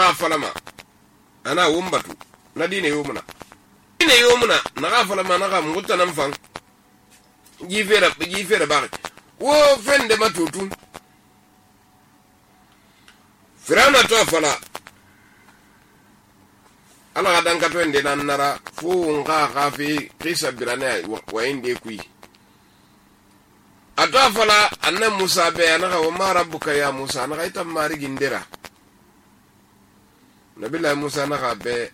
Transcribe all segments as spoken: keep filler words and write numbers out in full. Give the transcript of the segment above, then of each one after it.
naga falama ana wombatu na dine yomuna dine yomuna naga falama naga muguta nan fan jifera jifera ba wo fende matutu Firawna to fala ala dan ka to ende nan nara fu nga khafi qisa birane wa inde kui ato fala anna Musa be anaga wa ma rabbuka ya Musa anaga ita mari gindira nabila Musa naga be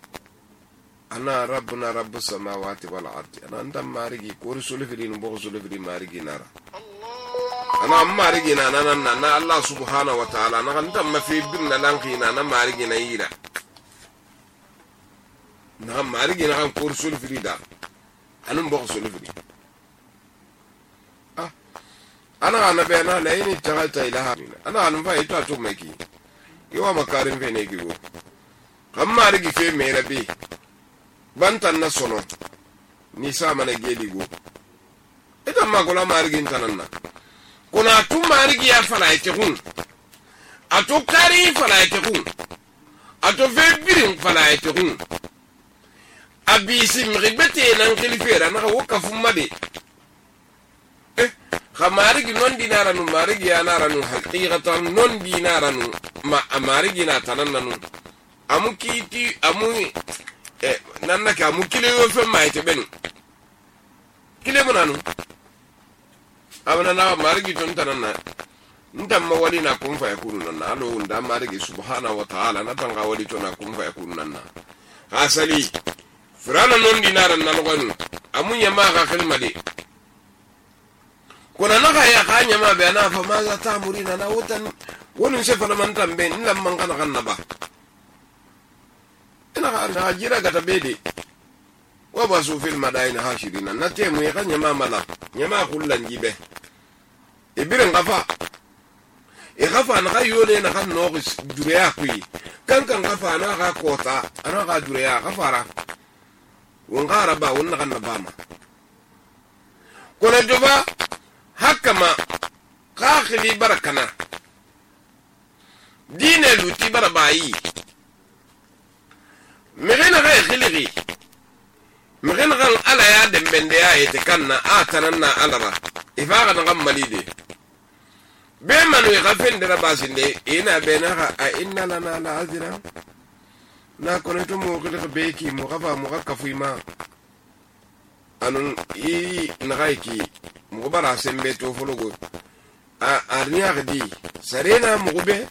ana rabbuna rabbus samawati wal ardi ana anta mari gi ko rusul filin bo rusul filin mari gi nara ana mari gi na na na Allah subhanahu wa ta'ala na anta mafi bin na lanki na na mari gi na yira na mari gi na ko rusul filida anum bo rusul filin ana ana be na la ini tagalta ilaha ana anu fa ito atu meki yo makarin fe ne giwo kamma rigi fe me rabi bantan na sono ni sa mana geli go ita ma gola marigi tananna kuna tu marigi ya fala yake hun ato kari fala yake hun ato fe birin fala yake hun abisi mribete nan khilifera na wakafu made khamarigi non dinara nu marigi ya nara nu haqiqatan non dinara nu ma amarigi na tananna amu kiti amu eh nanna ka amu kile yo fe mai te benu kile munanu abana na marigi ton tananna ndam ma wali na kun fa yakunu nanna alo nda marigi subhanahu wa ta'ala na tanga wali to na kun fa yakunu nanna asali firana non dinara na logonu amu yama ka khilmade kuna naka ya kanya ma bayana fa ma za ta murina na wutan wani se fa man tambe in lamman kana kanna ba ina ga jira ga tabede wa basu fil madain hashirina na te mu ya kanya ma mala nyama kullan jibe ibirin gafa e gafa na ga yole na kan no dure ya kui kan kan gafa na ga kota ana ga dure ya gafara wongara ba wonna kan na bama kuna joba hakama kakhili barakana dine luti barabayi migena ga khiligi migena ga ala ya dembende ya etekanna atananna alara ifaga na malide be manu ga fendera basinde ina benaga a inna lana la azra na koneto mo ko be ki mo gafa mo ga kafuima anun i nagaiki mugubara sembe to fologo a arniya gidi sarena mugube